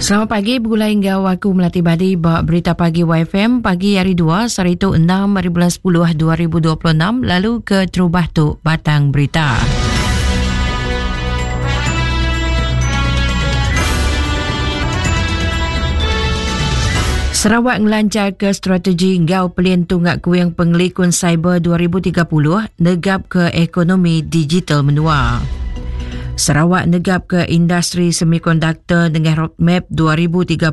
Selamat pagi begulai enggau aku Melati Badi ba Berita Pagi YFM pagi hari 2 sehari tu 6 hari bulan 10 2026 lalu ke terubah tu batang berita. Sarawak ngelancar ke strategi enggau pelin tunga kuing pengelikun cyber 2030 negap ke ekonomi digital menua. Sarawak negap ke industri semikonduktor dengan roadmap 2030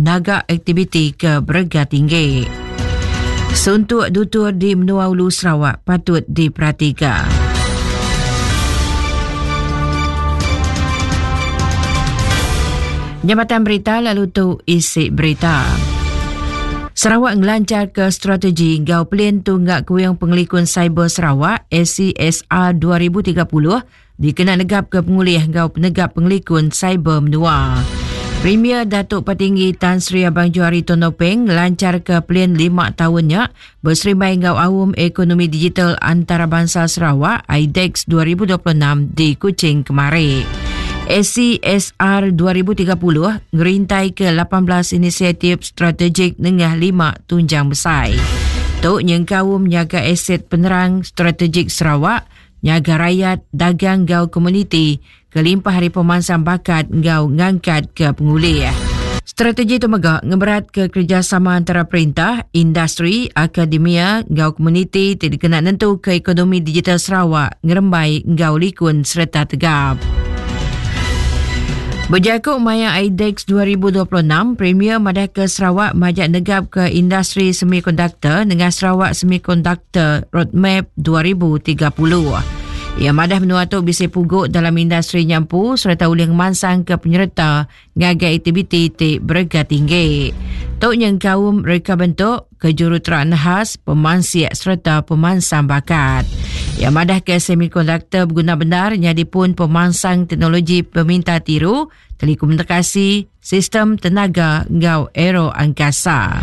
naga aktiviti ke berega tinggi. Suntuk dutur di menua Ulu Sarawak patut diperhatikan. Jabatan Berita lalu tu isi berita. Sarawak ngelancar ke strategi enggau pelin tunggak kuing pengelikun cyber Sarawak SCSR 2030 dikena negap ke pengulih enggau penegap pengelikun cyber menua. Premier Datuk Patinggi Tan Sri Abang Johari Tun Openg ngelancar ke pelin 5 tahunnya berserimbai enggau Aum Ekonomi Digital Antarabangsa Sarawak IDEX 2026 di Kuching kemari. SCSR 2030 ngerintai ke 18 inisiatif strategik nengah 5 tunjang besar. Tu nyengkaum nyaga aset penerang strategik Sarawak, nyaga rayat, dagang enggau komuniti, kelimpah hari pemansang bakat enggau ngangkat ke pengulih. Strategi itu mega ngeberat ke kerjasama antara perintah, industri, akademia enggau komuniti ti dikena nentu ke ekonomi digital Sarawak ngerembai enggau likun sereta tegap. Bejaku maya IDEX 2026, Premier madah ke Sarawak majak negap ke industri semikonduktor dengan Sarawak Semiconductor Roadmap 2030. Ia madah menua tu bisa puguk dalam industri nyampu serta ulih ngemansang ke penyerta ngagai aktiviti ti berega tinggi. Tu nyengkaum reka bentuk, kejuruteraan khas, pemansik serta pemansang bakat. Ia madah ke semikonduktor berguna benar nyadi pun pemansang teknologi peminta tiru, telekomunikasi, sistem tenaga enggau aero angkasa.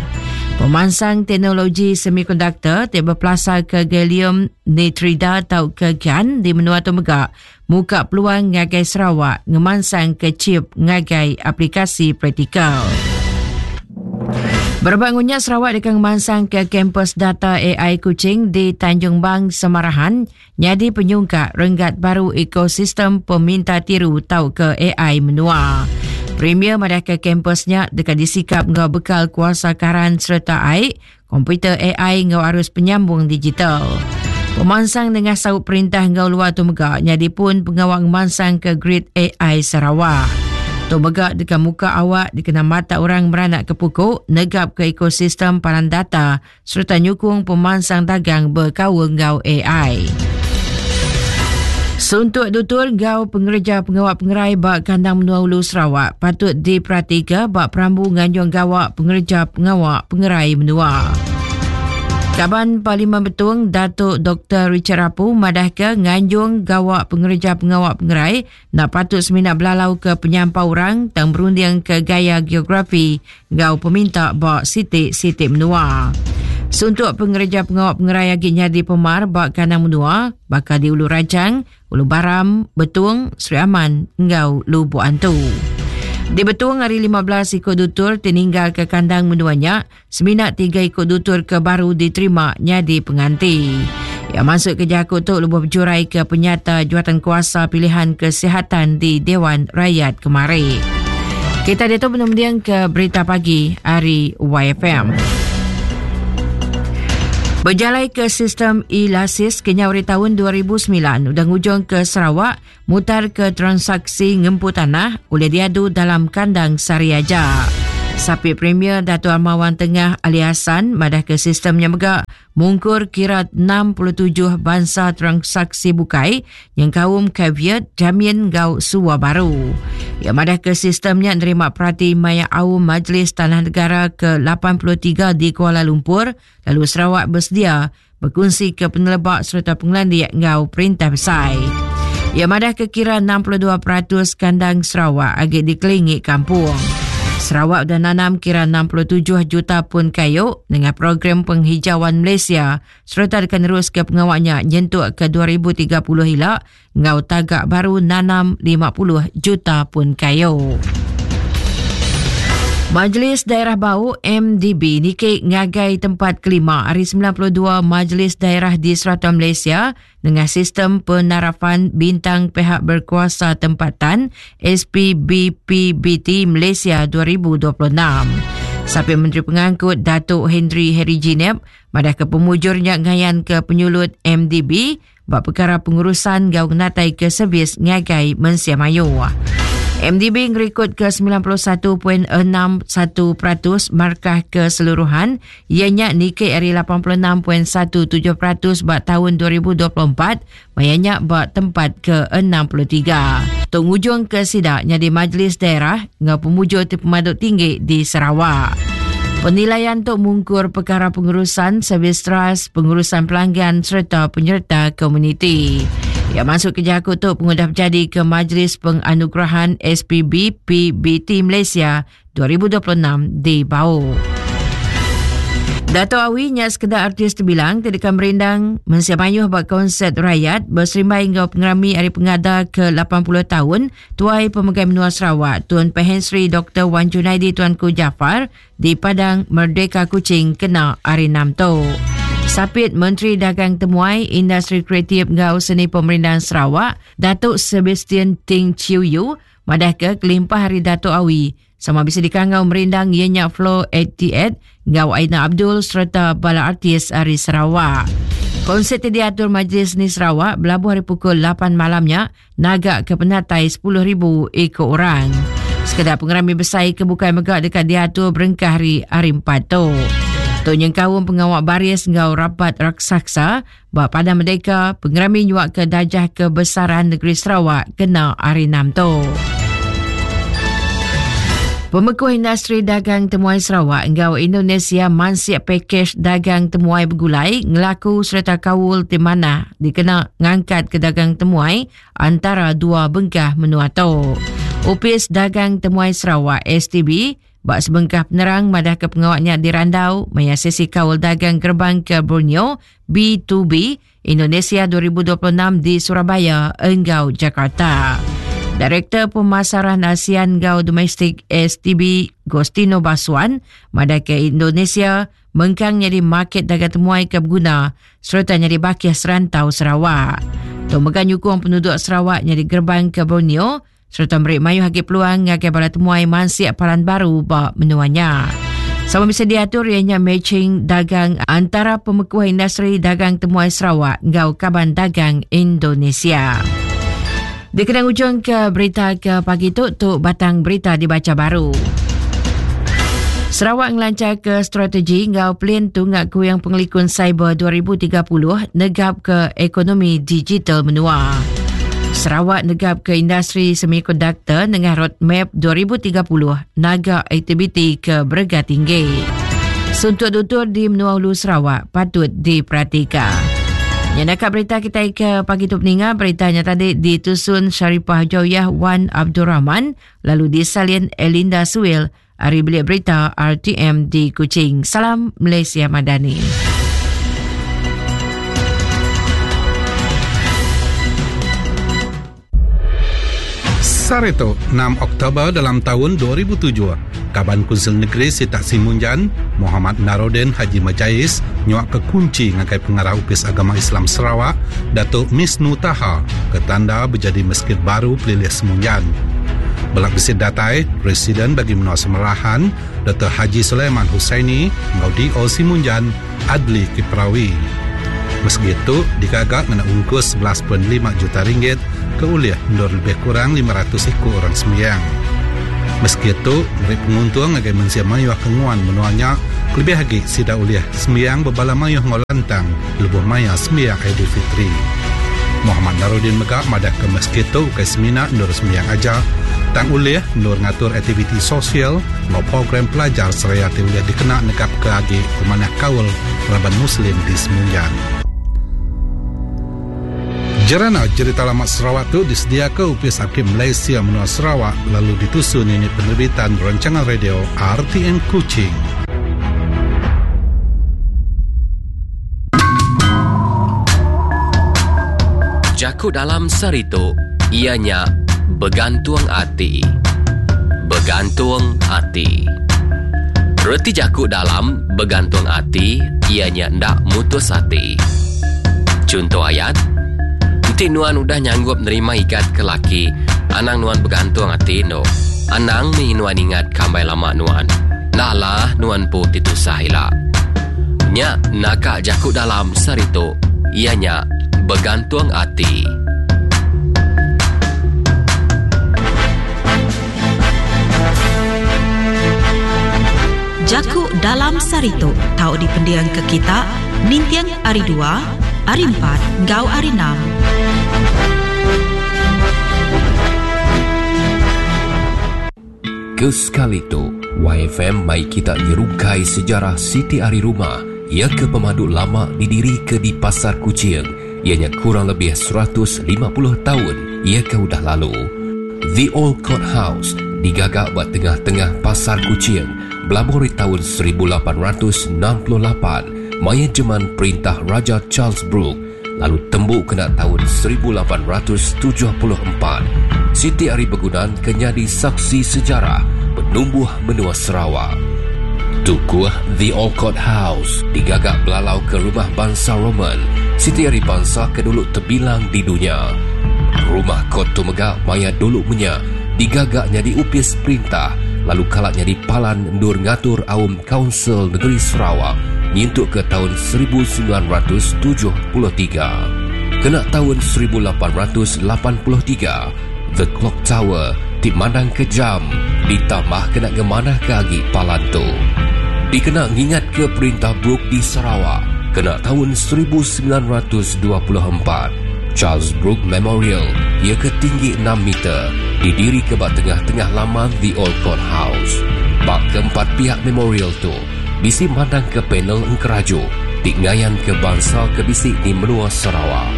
Pemansang teknologi semikonduktor ti bepelasar ke gallium nitrida atau ke GaN di menua tu mega muka peluang ngagai Sarawak ngemansang ke chip ngagai aplikasi praktikal. Berebak ngunya Sarawak deka ngemansang ke kampus data AI Kuching di Tanjung Bang, Semarahan nyadi penyungkak renggat baru ekosistem peminta tiru tau ke AI menua. Premier madah ke kampusnya deka disikap enggau bekal kuasa karan serta air, komputer AI enggau arus penyambung digital. Pemansang dengan saup perintah enggau luar tu mega nyadi pun pengawal ngemansang ke grid AI Sarawak. Tu mega deka muka awak dikena mata orang meranak ke pukuk negap ke ekosistem palan data sereta nyukung pemansang dagang bekaul enggau AI. Suntuk dutur enggau pengereja pengawa pengerai ba kandang menua Ulu Sarawak patut diperatika ba perambu nganjung gawa pengereja pengawa pengerai menua. Kaban Parlimen Betong Datuk Dr. Richard Rapu madahka nganjung gawa pengereja pengawa pengerai nak patut semina belalau ke penyampau orang tang berunding ke gaya geografi enggau peminta ba siti-siti menua. Suntuk pengereja pengawa pengerai agi nyadi pemar ba kandang menua baka di Ulu Rajang, Ulu Baram, Betong, Sri Aman enggau Lubok Antu. Di Betong hari 15 ikut dutur ti ninggal ke kandang menua nya, semina 3 ikut dutur ke baru diterima nyadi penganti. Ya masuk ke jaku tu lebuh berjurai ke penyata juatan kuasa pilihan kesihatan di Dewan Rakyat kemari. Kita diatu menumdiang ke berita pagi hari YFM. Berjalai ke sistem e-lasis kenyau dari tahun 2009 udah ngujung ke Sarawak mutar ke transaksi ngempu tanah oleh diadu dalam kandang sehari aja. Sapi Premier Dato' Armawan Tengah Ali Hassan madah ke sistemnya mega mungkur kira 67 bansa transaksi bukai yang kaum caveat jamin gau suwa baru. Ia madah ke sistemnya nerima perhati maya aum Majlis Tanah Negara ke-83 di Kuala Lumpur lalu Sarawak bersedia berkongsi ke penelebak serta pengelandik ngau perintah besar. Ia madah ke kira 62% kandang Sarawak agi dikelingi kampung. Sarawak dah nanam kira 67 juta pun kayu dengan program penghijauan Malaysia serta akan terus ke pengawalnya nyentuk ke 2030 hila ngau tagak baru nanam 50 juta pun kayu. Majlis Daerah Bau, MDB, niki ngagai tempat kelima ari 92 Majlis Daerah di serata Malaysia nengah sistem penarafan Bintang Pihak Berkuasa Tempatan SPBPBT Malaysia 2026. Sapit Menteri Pengangkut Datuk Henry Harry Jinep madah ke pemujur nya ngayan ke penyulut MDB ba pekara pengurusan enggau ngenatai ke servis ngagai mensia mayuh. MDB ngerikod ke 91.61% markah keseluruhan iya nya niki ari 86.17% ba taun 2024 maya nya ba tempat ke 63. Tu ngujung ke sida nyadi majlis daerah enggau pemujur ti pemadu tinggi di Sarawak. Penilaian tu mungkur pekara pengurusan servis teras, pengurusan pelanggan sereta penyerta komuniti. Ya masuk ke jaku tu pengudah berjadi ke Majlis Penganugerahan SPB PBT Malaysia 2026 di Bau. Dato' Awi nya sekeda artis terbilang ti deka merindang mensia mayuh ba konsert rayat beserimbai enggau pengerami Hari Pengada ke 80 taun Tuai Pemegai Menua Sarawak Tun Pehin Sri Doktor Wan Junaidi Tuanku Jaafar di Padang Merdeka Kuching kena hari Enam tu. Sapit Menteri Dagang Temuai, Industri Kreatif enggau Seni Pemerindang Sarawak, Datuk Sebastian Ting Chiu Yu madahka kelimpah ari Datuk Awi, sama bisi dikangau merindang iya nya Flo 88 enggau Aina Abdul sereta bala artis ari Sarawak. Konsert ti diatur Majlis Seni Sarawak belabuh ari pukul 8 malam nya naga ke penatai 10,000 iku orang. Sekeda pengerami besai ke bukai mega deka diatur berengkah ari hari 4 tu. Tu nyengkaum pengawa baris enggau rapat raksasa ba Padang Merdeka, pengerami nyuaka dajah kebesaran negeri Sarawak kena hari 6 tu. Pemekuh industri dagang temuai Sarawak enggau Indonesia mansik pakej dagang temuai begulai ngelaku sereta kaul ti manah dikena ngangkatka dagang temuai antara dua bengkah menua tu. Opis Dagang Temuai Sarawak STB ba sebengkah penerang madahka pengawa nya dirandau maya sesi kaul dagang gerbang ke Borneo B2B Indonesia 2026 di Surabaya enggau Jakarta. Direktor Pemasaran ASEAN enggau Domestik STB Gostino Baswan madahka Indonesia mengkang nyadi market dagang temuai ke beguna sereta nyadi bakih serantau Sarawak. Tu mega nyukung penuduk Sarawak nyadi gerbang ke Borneo sereta meri mayuh agi peluang ngagai bala temuai mansik palan baru ba menua nya. Sama bisi diatur iya nya matching dagang antara pemekuh industri dagang temuai Sarawak enggau kaban dagang Indonesia. Dikena ngujung ke berita ke pagi tu, tu batang berita dibacha baru. Sarawak ngelancharka strategi enggau pelin tunga kuing pengelikun cyber 2030 negap ke ekonomi digital menua. Sarawak negap ke industri semikonduktor nengah roadmap 2030 naga aktiviti ke berega tinggi. Suntuk tutur di menua Ulu Sarawak patut diperatika. Yang nak berita kita ke pagi tu peninga beritanya tadi ditusun Sharifah Joyah Wan Abdul Rahman lalu disalin Elinda Suil Ari Bilik Berita RTM di Kuching. Salam Malaysia Madani. Sehari tu, 6 Oktober dalam taun 2007, Kaban Kunsil Negeri Sitak Simunjan, Mohamad Naroden Haji Majais nyuaka kunchi ngagai Pengarah Opis Agama Islam Sarawak, Datuk Misnu Taha, ke tanda bejadi Mesjid Baru Pelilih Semunjan. Bela bisi datai, Residen Bagi Menua Semerahan, Doktor Haji Sulaiman Husaini enggau DO Simunjan, Adli Kiprawi. Mesegit tu digaga ngena ungkus 11.5 juta ringgit ke ulih endur lebih kurang 500 iku orang sembiang. Mesegit tu meri penguntung ngagai mensia mayuh ke nguan menua nya kelebih agi sida ulih sembiang bebala mayuh enggau lantang lebuh maya sembiang Aidilfitri. Mohamad Narodin mega madahka mesjid tu ukai semina endur sembiang aja, tang ulih endur ngatur aktiviti sosial enggau program pelajar seraya ti ulih dikena negapka agi pemanah kaul raban Muslim di Semunjan. Jerana Jerita Lama Sarawak tu disediaka Opis Arkib Malaysia Menua Sarawak lalu ditusun Unit Penerbitan Rancangan Radio RTM Kuching. Jaku dalam sehari tu iya nya begantung ati. Begantung ati. Reti jaku dalam begantung ati iya nya enda mutus ati. Chunto ayat, Enti nuan udah nyanggup nerima igat ke laki, anang nuan begantung ati endo. Anang mih nuan ingat ke ambai lama nuan. Enda alah nuan empu ti tusah ila. Nya naka jaku dalam sehari tu iya nya begantung ati. Jaku Dalam Saritu tau dipendingka kita ninting Hari Dua, Hari Empat enggau Hari Enam. Ke sekali tu, YFM mai kita nyerungkai sejarah siti ari rumah iya ke pemadu lama didirika di Pasar Kuching iya nya kurang lebih 150 taun iya ke udah lalu. The Old Court House digaga ba tengah-tengah Pasar Kuching belabuh ari taun 1868 maya jeman perintah Raja Charles Brooke lalu tembu kena taun 1874, siti ari begunan ke nyadi saksi sejarah penumbuh menua Sarawak. Tukuh The Old Court House digaga belalauka rumah bansa Roman, siti ari bansa ke dulu tebilang di dunya. Rumah kot tu mega maya dulu menya digaga nyadi opis perintah lalu kala nyadi palan endur ngatur aum Kaunsil Negeri Sarawak nyentuk ke taun 1973. Kena taun 1883, The Clock Tower ti mandangka jam ditambah kena ngemanahka agi palan tu. Dikena ngingatka perintah Brooke di Sarawak kena taun 1924, Charles Brooke Memorial iya ke tinggi enam meter didirika ba tengah-tengah laman The Old Court House. Ba keempat piak memorial tu bisi mandangka panel engkeraju ti ngayanka bansa ke bisi di menua Sarawak.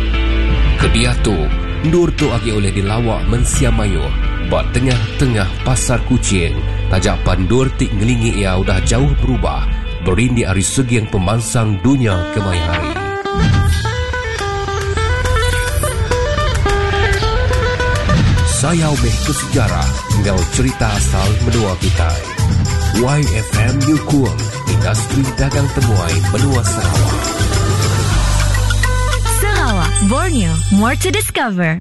Kediatu, endur tu agi ulih dilawa mensia mayuh ba tengah-tengah pasar Kuching taja pan endur ti ngelingi iya udah jauh berubah berindik ari seging pemansang dunya kemaya hari. Sayau meh ke sejarah enggau cherita asal menua kitai. YFM nyukung industri dagang temuai menua Sarawak. Sarawak, Borneo, more to discover.